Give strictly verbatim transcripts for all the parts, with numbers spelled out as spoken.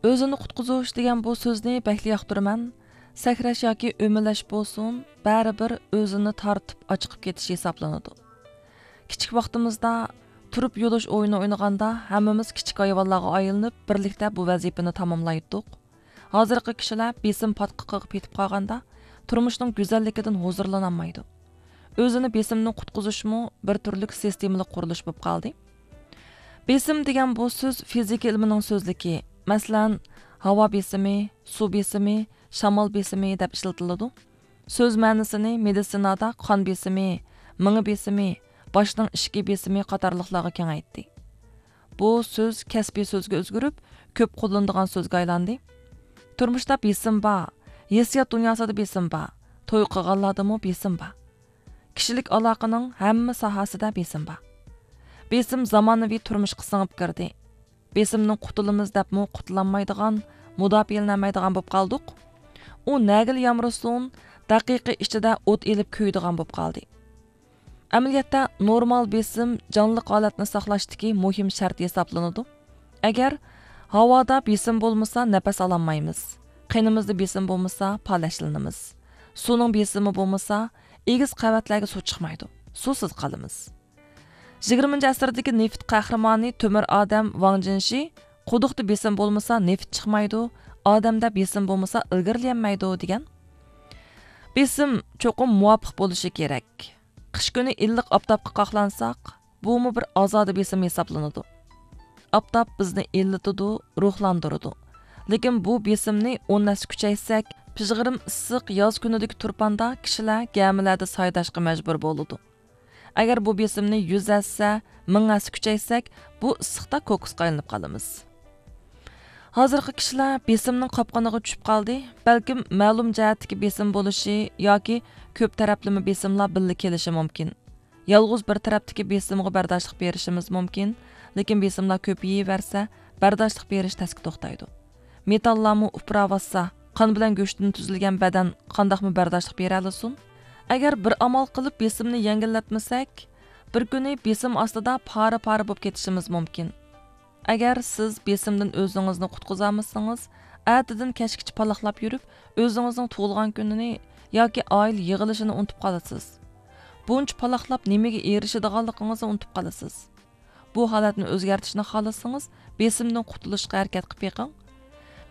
ئۆزىنى قۇتقۇزۇش دېگەن بۇ سۆزنى بەكلا ياقتۇرىمەن. سەكرەش ياكى ئۆمىلەش بولسۇن، بەرىبىر ئۆزىنى تارتىپ ئاچىقىپ كېتىش ھېسابلىنىدۇ. كىچىك ۋاقتىمىزدا تۇرۇپ يولۇش ئويۇنى ئوينىغاندا، ھەممىمىز كىچىك ھايۋانلارغا ئايلىنىپ، بىرلىكتە بۇ ۋەزىپىنى تاماملايتتۇق. ھازىرقى كىشىلەر بېسىم پاتقىقىغا پېتىپ قالغاندا، تۇرمۇشنىڭ گۈزەللىكىدىن ھۇزۇرلىنالمايدۇ. ئۆزىنى بېسىمدىن قۇتقۇزۇشمۇ بىر تۈرلۈك سىستېمىلىق قۇرۇلۇش بولۇپ قالدى. بېسىم دېگەن بۇ سۆز فىزىكا ئىلمىنىڭ سۆزلۈكى. مەسىلەن، ھاۋا بېسىمى، سۇ بېسىمى، شامال بېسىمى دەپ ئىشلىتىلىدۇ. سۆز مەنىسىنى مېدىتسىنادا قان بېسىمى، مېڭە بېسىمى، باشنىڭ ئىچكى بېسىمى قاتارلىقلارغا كېڭەيتتى. بۇ سۆز كەسپىي سۆزگە ئۆزگىرىپ، كۆپ قوللىنىدىغان سۆزگە ئايلاندى. تۇرمۇشتا بېسىم بار، ھېسسىيات دۇنياسىدا بېسىم بار، توي قىلغانلاردىمۇ بېسىم بار. كىشىلىك ئالاقىنىڭ ھەممە ساھەسىدە بېسىم بار. بېسىم زامانىۋى تۇرمۇشقا سىڭىپ كىردى. بېسىمدىن قۇتۇلىمىز دەپمۇ قۇتۇلالمايدىغان، مۇداپىئەلىنەلمەيدىغان بولۇپ قالدۇق. ئۇ نەگىلا يامرىسۇن، دەقىقە ئىچىدە ئوت ئېلىپ كۆيىدىغان بولۇپ قالدى. ئەمەلىيەتتە، نورمال بېسىم جانلىق ھالەتنى ساقلاشتىكى مۇھىم شەرت ھېسابلىنىدۇ. ئەگەر ھاۋادا بېسىم بولمىسا، نەپەس ئالالمايمىز. قېنىمىزدا بېسىم بولمىسا، پالەچلىنىمىز. سۇنىڭ بېسىمى بولمىسا، ئېگىز قەۋەتلەرگە سۇ چىقمايدۇ. سۇسىز قالىمىز. يىگىرمىنچى ئەسىردىكى نېفىت قەھرىمانى تۆمۈر ئادەم ۋاڭ جىنشى، قۇدۇقتا بېسىم بولمىسا، نېفىت چىقمايدۇ، ئادەمدە بېسىم بولمىسا، ئىلگىرىلىيەلمەيدۇ، دېگەن. بېسىم چوقۇم مۇۋاپىق بولۇشى كېرەك. قىش كۈنى ئىللىق ئاپتاپقا قاقلانساق، بۇمۇ بىر ئازادە بېسىم ھېسابلىنىدۇ. ئاپتاپ بىزنى ئىللىتىدۇ، روھلاندۇرىدۇ. لېكىن بۇ بېسىمنى ئون ھەسسە كۈچەيتسەك، پىژغىرىم ئىسسىق ياز كۈنىدىكى تۇرپاندا كىشىلەر گەمىلەردە سايداشقا مەجبۇر بولىدۇ. ئەگەر بۇ بېسىمنى يۈز ھەسسە، مىڭ ھەسسە كۈچەيتسەك، بۇ ئىسسىقتا كوكۇسقا ئايلىنىپ قالىمىز. ھازىرقى كىشىلەر بېسىمنىڭ قاپقىنىغا چۈشۈپ قالدى. بەلكىم مەلۇم جەھەتتىكى بېسىم بولۇشى ياكى كۆپ تەرەپلىمە بېسىملار بىللە كېلىشى مۇمكىن. يالغۇز بىر تەرەپتىكى بېسىمغا بەرداشلىق بېرىشىمىز مۇمكىن، لېكىن بېسىملار كۆپىيىۋەرسە، بەرداشلىق بېرىش تەسكە توختايدۇ. مېتاللارمۇ ئۇپراۋاتسا، قان بىلەن گۆشتىن تۈزۈلگەن بەدەن قانداقمۇ بەرداشلىق بېرەلىسۇن؟ ئەگەر بىر ئامال قىلىپ بېسىمنى يەڭگىللەتمىسەك، بىر كۈنى بېسىم ئاستىدا پارە-پارە بولۇپ كېتىشىمىز مۇمكىن. ئەگەر سىز بېسىمدىن ئۆزىڭىزنى قۇتقۇزالمىسىڭىز، ئەتىدىن كەچكىچە پالاقلاپ يۈرۈپ، ئۆزىڭىزنىڭ تۇغۇلغان كۈنىنى ياكى ئائىلە يىغىلىشىنى ئۇنتۇپ قالىسىز. بۇنچە پالاقلاپ نېمىگە ئېرىشىدىغانلىقىڭىزنى ئۇنتۇپ قالىسىز. بۇ ھالەتنى ئۆزگەرتىشنى خالىسىڭىز، بېسىمدىن قۇتۇلۇشقا ھەرىكەت قىلىپ بېقىڭ.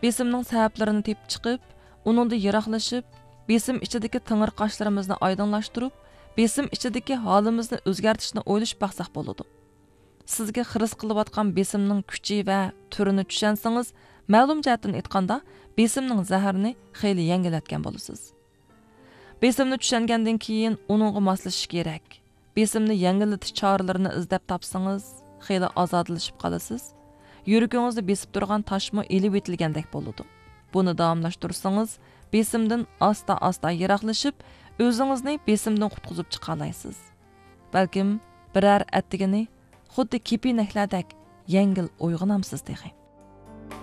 بېسىمنىڭ سەۋەبلىرىنى تېپىپ چىقىپ، ئۇنىڭدىن يىراقلىشىپ، بېسىم ئىچىدىكى تېڭىرقاشلىرىمىزنى ئايدىڭلاشتۇرۇپ، بېسىم ئىچىدىكى ھالىمىزنى ئۆزگەرتىشنى ئويلىشىپ باقساق بولىدۇ. سىزگە خىرىس قىلىۋاتقان بېسىمنىڭ كۈچى ۋە تۈرىنى چۈشەنسىڭىز، مەلۇم جەھەتتىن ئېيتقاندا، بېسىمنىڭ زەھىرىنى خېلى يەڭگىللەتكەن بولىسىز. بېسىمنى چۈشەنگەندىن كېيىن ئۇنىڭغا ماسلىشىش كېرەك. بېسىمنى يەڭگىللىتىش چارىلىرىنى ئىزدەپ تاپسىڭىز، خېلى ئازادىلىشىپ قالىسىز. يۈرىكىڭىزنى بېسىپ تۇرغان تاشمۇ ئېلىۋېتىلگەندەك بولىدۇ. بۇنى داۋاملاشتۇرسىڭىز، بېسىمدىن ئاستا-ئاستا يىراقلىشىپ، ئۆزىڭىزنى بېسىمدىن قۇتقۇزۇپ چىقالايسىز. بەلكىم بىرەر ئەتىگىنى خۇددى كېپىنەكلەردەك يەڭگىل ئويغىنامسىز تېخى.